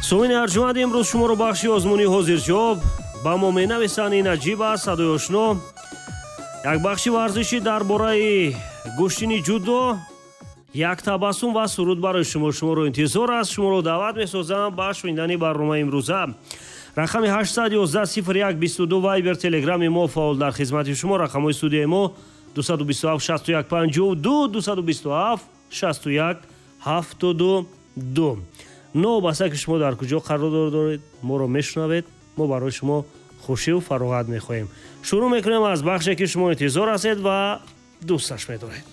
Сомини арҷуманд, имрӯз шуморо бахши озмуни ҳозирҷавоб ба мо менависанд. Ин аҷиб аст, садои ошно. Як бахши варзишӣ дар бораи гӯштини ҷудо, як табассум ва суруд барои шумо. Шуморо интизор аст. Шуморо даъват месозам ба шунидани барномаи имрӯза. Рақами 811 01 22 вайбер, телеграми мо фаъол дар хизмати шумо. Рақамҳои студияи мо 227 61 52, 227 61 72. Новобаста ки шумо дар куҷо қарор доред, моро мешунавед, мо барои шумо хушиву фароғат мехоҳем. Шурӯъ мекунем аз бахше, ки шумо интизор ҳастед ва дӯсташ медоред.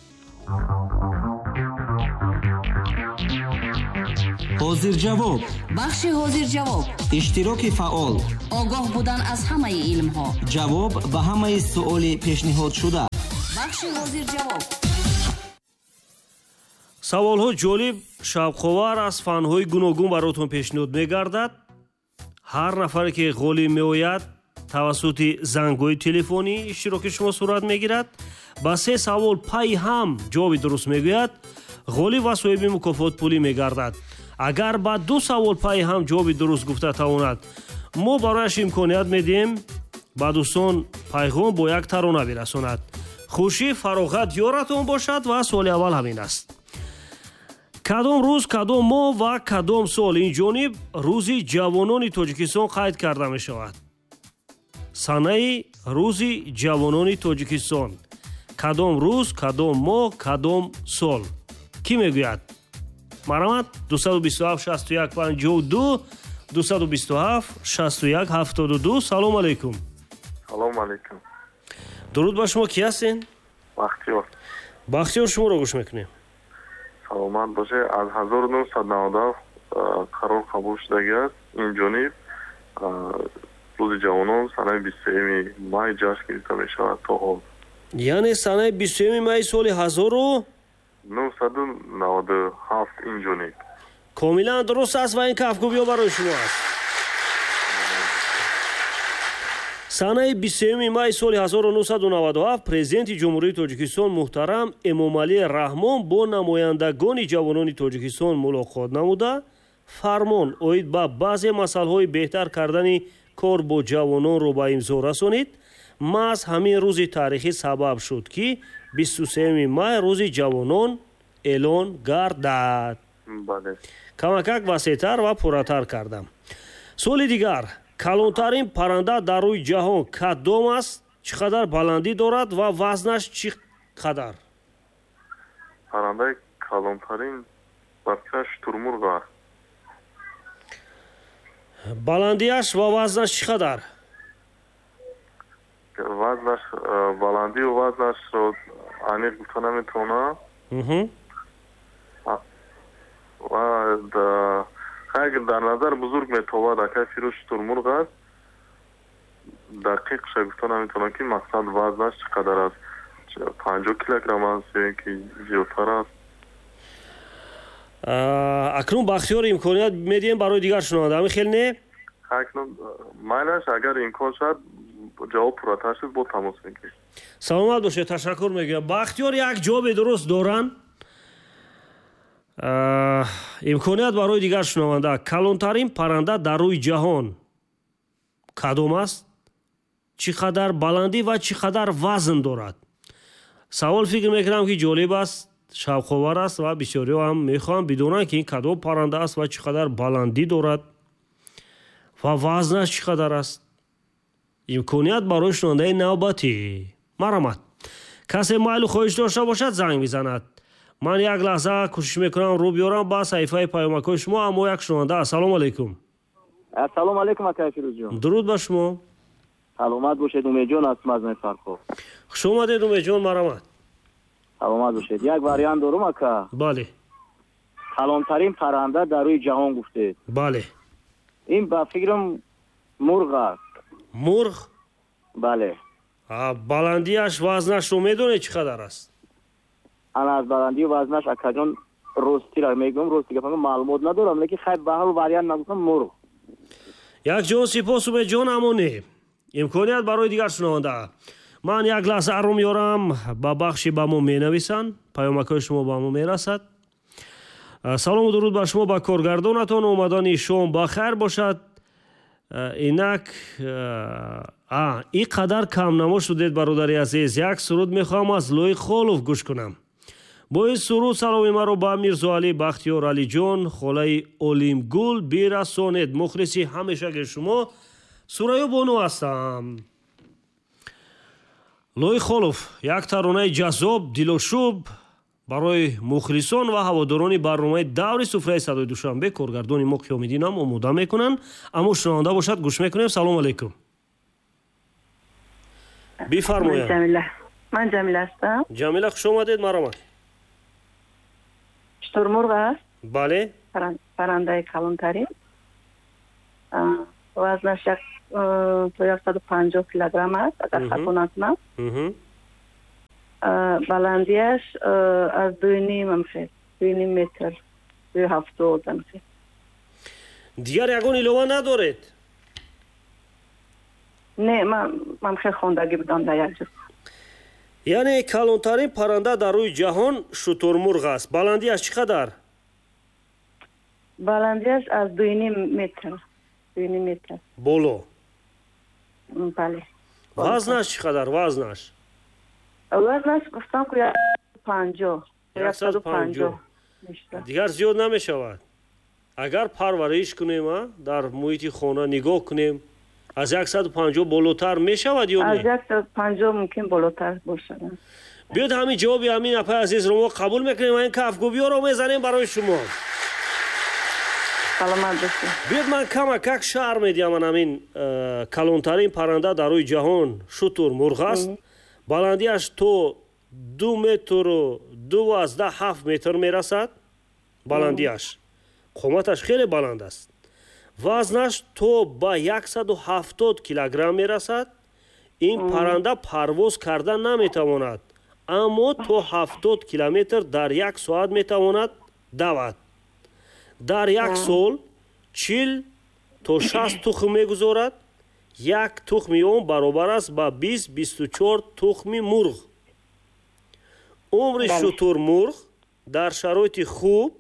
Ҳозирҷавоб. Бахши ҳозирҷавоб. Иштироки фаъол. Огоҳ будан аз ҳамаи илмҳо. Ҷавоб ба ҳамаи суоли пешниҳодшуда. Бахши ҳозирҷавоб. Саволҳо ҷолиб, шавқовар, аз фанҳои гуногун баротон пешниҳод мегардад. Ҳар нафаре ки ғолиб меояд, тавассути зангҳои телефонӣ иштироки шумо сурат мегирад. Ба се савол пайи ҳам ҷавоби дуруст мегӯяд, ғолиб ва соҳиби мукофот пулӣ мегардад. Агар ба ду савол пайи ҳам ҷавоби дуруст гуфта тавонад, мо барояш имконият медиҳем ба дӯстон пайғом бо як тарона бирасонад. Хушӣ, фароғат ёратон бошад. Ва суоли аввал ҳамин аст: кадом рӯз, кадом моҳ ва кадом сол ин ҷониб рӯзи ҷавонони Тоҷикистон қайд карда мешавад? Санаи рӯзи ҷавонони Тоҷикистон кадом рӯз, кадом моҳ, кадом сол? Кӣ мегӯяд? Марҳамат, 227 61 52, 227 61 72. Салом алейкум. Салом алейкум. Дуруд ба шумо. Кӣ ҳастен? Бахтиёр. Бахтиёр, шуморо гӯш мекунем. Саломат бошед. Аз 1997 қарор қабул шудагӣ аст. Ин ҷониб рӯзи ҷавонон санаи 23 май ҷашн гирифта мешавад то ҳол. Яъне санаи 23 майи соли ҳазору 997 ин ҷониб. Комилан дуруст аст ва ин кафкӯбиҳо барои шумо аст. Санаи 23 майи соли 1997 президенти Ҷумҳурии Тоҷикистон муҳтарам Эмомалӣ Раҳмон бо намояндагони ҷавонони Тоҷикистон мулоқот намуда, фармон оид ба баъзе масъалаҳои беҳтар кардани кор бо ҷавононро ба имзо расонид. Маҳз ҳамин рӯзи таърихӣ сабаб шуд, ки 23 май рӯзи ҷавонон эълон гардад. Камакак васеътар ва пурратар кардам. Суоли дигар: калонтарин парранда дар рӯи ҷаҳон кадом аст, чӣ қадар баландӣ дорад ва вазнаш чӣ қадар? Паррандаи калонтарин ба фикрам шутурмурғ аст. Баландиаш ва вазнаш чӣ қадар? Вазнаш, баландию вазнашро аниқ гуфта наметавонам. Ва хайр, дар назар бузург метобад, акай Фирӯз, шутурмурғ аст. Дақиқша гуфта наметавонам, ки мақсад вазнаш чӣ қадар аст, 50 килограмм аст ё ин ки зиёдтар аст. Акнун, Бахтиёр, имконият медиҳем барои дигар шунаванда, ҳамин хел не? Акнун майлаш, агар имкон шавад, ҷавоб пурратар шуд, бо тамос мегирем. Саломат бошед, ташаккур мегӯям. Бахтиёр як ҷавоби дуруст доранд. Имконият барои дигар шунаванда: калонтарин парранда дар рӯи ҷаҳон кадом аст, чӣ қадар баландӣ ва чӣ қадар вазн дорад? Савол, фикр мекунам, ки ҷолиб аст, шавқовар аст ва бисёриҳо ҳам мехоҳанд бидонанд, ки ин кадом парранда аст ва чӣ қадар баландӣ дорад ва вазнаш чӣ қадар аст. Имконият барои шунавандаи навбатӣ. Марҳамат, касе майлу хоҳиш дошта бошад, занг мезанад. Ман як лаҳза кӯшиш мекунам рӯ биёрам ба саҳифаи паёмакҳои шумо, аммо як шунаванда. Ассалому алайкум. Ассалому алайкум, акай Фирӯзҷон. Дуруд ба шумо. Саломат бошед. Умедҷон аз мазмаи Фархор. Хуш омадед, Умедҷон, марҳамат. Саломат бошед. Як вариант дорум, ака. Бале. Калонтарин парранда дар рӯи ҷаҳон гуфтед. Бале. Ин ба фикрам мурғ аст. Мурғ? Бале. Баландиаш, вазнашро медонед, чӣ қадар аст? Ана аз баландию вазнаш, акаҷон, ростира мегӯям, рости гапа, маълумот надорам, лекин хайр, ба ҳар вариант нагуфтам, мурғ. Якҷон сипос, Умедҷон, аммо не. Имконият барои дигар шунаванда. Ман як лаҳза рӯ меёрам ба бахши ба мо менависанд, паёмакҳои шумо ба мо мерасад. Салому дуруд ба шумо, ба коргардонатон. Омадани шом ба хайр бошад. Инак ин қадар камнамо шудед, бародари азиз. Як суруд мехоҳам аз Лоиқ Холов гӯш кунам. Бо ин суруд саломи маро ба Мирзоалӣ Бахтиёр Алиҷон, холаи Олимгул бирасонед. Мухлиси ҳамешаги шумо Сурайё Бону ҳастам. Лоиқ Холов як таронаи ҷаззоб, дилошӯб барои мухлисон ва ҳаводорони барномаи даври суфраи садои Душанбе коргардони мо Қиёмиддинам омода мекунанд. Аммо шунаванда бошад, гӯш мекунем. Салому алайкум. Бифармояд. Ман Ҷамила ҳастам. Ҷамила, хуш омадед, марҳамат. Шутурмурғ аст? Бале. Паррандаи калонтарин. Вазнаш то 150 килограмм аст, агар хато накунам. Баландиаш аз 2.5 метр, 2.70. Дигар ягон илова надоред? Не, ман хеле хондагӣ будам дар як ҷо. Яъне калонтарин парранда дар рӯи ҷаҳон шутурмурғ аст. Баландиаш чӣ қадар? Баландиаш аз 2.5 метр. 2.5 метр. Боло? Бале. Вазнаш чӣ қадар? Вазнаш? Вазнаш гуфтам ки 150. 150. Дигар зиёд намешавад. Агар парвариш кунем, дар муҳити хона нигоҳ кунем, аз 150 болотар мешавад ё не? Аз 150 мумкин болотар бошад. Биёд ҳамин ҷавоби ҳамин апаи азизро мо қабул мекунем ва ин кафгӯбиёро мезанем барои шумо. Саломат бошед. Биёд ман камакак шаҳр медиҳам. Ман ҳамин калонтарин парранда дар рӯи ҷаҳон шутурмурғ аст. Баландиаш то 2 метру 2.7 метр мерасад. Баландиаш. Қоматаш хеле баланд аст. Вазнаш то ба 170 килограмм мерасад. Ин парранда парвоз карда наметавонад, аммо то 70 километр дар як соат метавонад давад. Дар як сол 40 то 60 тухм мегузорад. Як тухми он баробар аст ба 20-24 тухми мурғ. Умри шутурмурғ дар шароити хуб,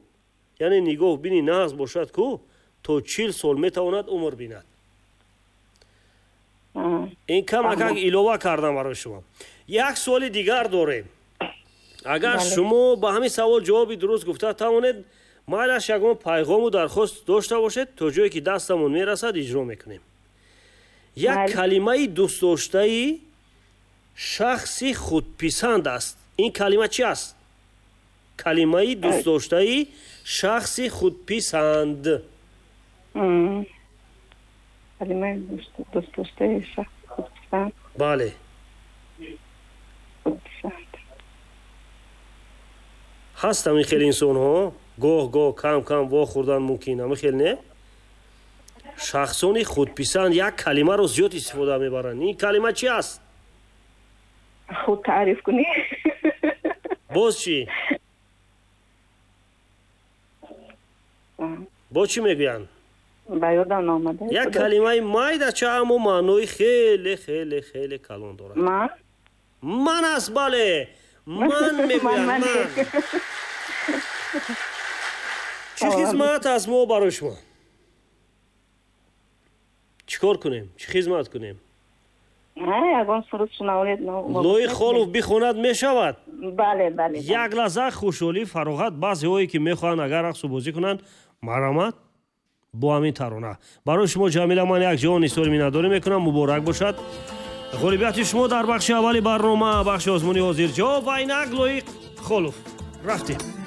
яъне нигоҳ бини нағз бошад ку, то 40 сол метавонад умр бинад. Ин камакак илова кардам барои шумо. Як суоли дигар дорем. Агар шумо ба ҳамин савол ҷавоби дуруст гуфта тавонед, майлаш ягон пайғому дархост дошта бошед, то ҷое ки дастамон мерасад иҷро мекунем. Як калимаи дӯстдоштаи шахси худписанд аст. Ин калима чи аст? Калимаи дӯстдоштаи шахси худписанд. Калимаи дӯстдоштаи шахси худписанд. Бале. Худписанд. Ҳаст ҳамин хел инсонҳо, гоҳ-гоҳ кам-кам вохӯрдан мумкин, ҳамин хел не? Шахсони худписанд як калимаро зиёд истифода мебаранд. Ин калима чи аст? Худ таъриф кунӣ? Боз чӣ? Боз чӣ мегӯянд? Ба ёдам наомада. Як калимаи майдача, аммо маънои хеле хеле хеле калон дорад. Ман? Ман аст, бале. Ман мегӯянд, ман. Чӣ хизмат аст мо барои шумо? Чӣ кор кунем? Чӣ хизмат кунем? Ягон суруд шунавед. Лоиқ Холов бихонад мешавад? Бале, бале. Як лаҳза хушҳолӣ, фароғат. Баъзеҳое ки мехоҳанд агар рақсу бозӣ кунанд, марҳамат бо ҳамин тарона. Барои шумо Ҷамила ман як ҷавон изҳори миннатдорӣ мекунам. Муборак бошад ғолибияти шумо дар бахши аввали барнома, бахши озмуни ҳозирҷавоб ва инак Лоиқ Холов. Рафтем.